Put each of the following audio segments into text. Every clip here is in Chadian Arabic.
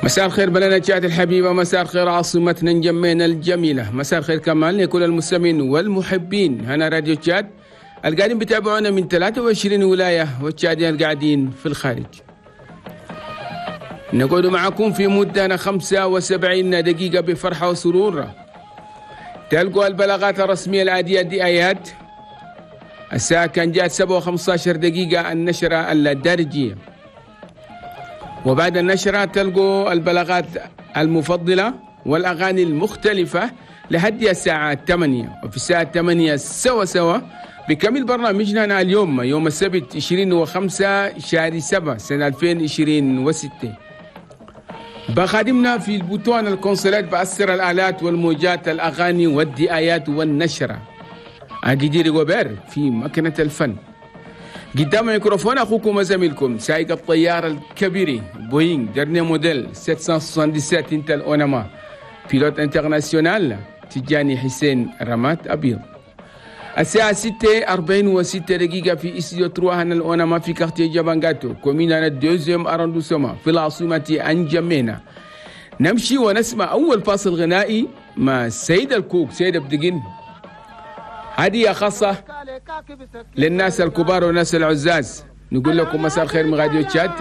مساء الخير بلدنا تشاد الحبيبة، مساء الخير عاصمتنا نجمينا الجميلة، مساء الخير كمان لكل المستمعين والمحبين هنا راديو تشاد القاعدين بتابعونا من 23 ولاية والتشاديين القاعدين في الخارج. نقعد معكم في مدة 75 دقيقة بفرحة وسرور. تلقوا البلاغات الرسمية العادية دي آيات. الساعة كان جاءت 7:15 دقيقة النشرة الدارجية، وبعد النشرة تلقوا البلاغات المفضلة والأغاني المختلفة لحد الساعة 8، وفي الساعة 8 سوا سوا بكمل برنامجنا اليوم يوم السبت 25 شهر 7 سنة 2026. بخادمنا في البوتون الكونسولات بأسر الآلات والموجات الأغاني والدعايات والنشرة أجدير غوبير في مكنة الفن. قدام الميكروفون أخوكم وزميلكم سائق الطيارة الكبير بوينغ dernier modèle 777 Intel Onama pilote international تجاني حسين رمات أبيض. الساعة 6:46 في استوديو 3 هنا الأونما في quartier جابانغاتو commune أنا deuxième arrondissement في العاصمة أنجمينا. نمشي ونسمع أول فاصل غنائي مع سيد الكوك سيد بدقين، هدية خاصة للناس الكبار والناس العزاز. نقول لكم مساء الخير من راديو تشاد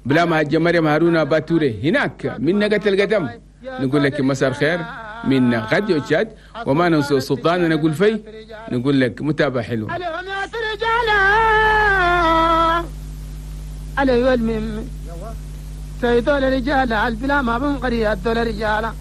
بلا ما هجة مريم هارونا باتوري هناك من نقة القدم. نقول لك مساء الخير من راديو تشاد، وما ننسى السلطان نقول في نقول لك متابعة حلوة. سيدول رجال البلا ما بنقري الدول رجال.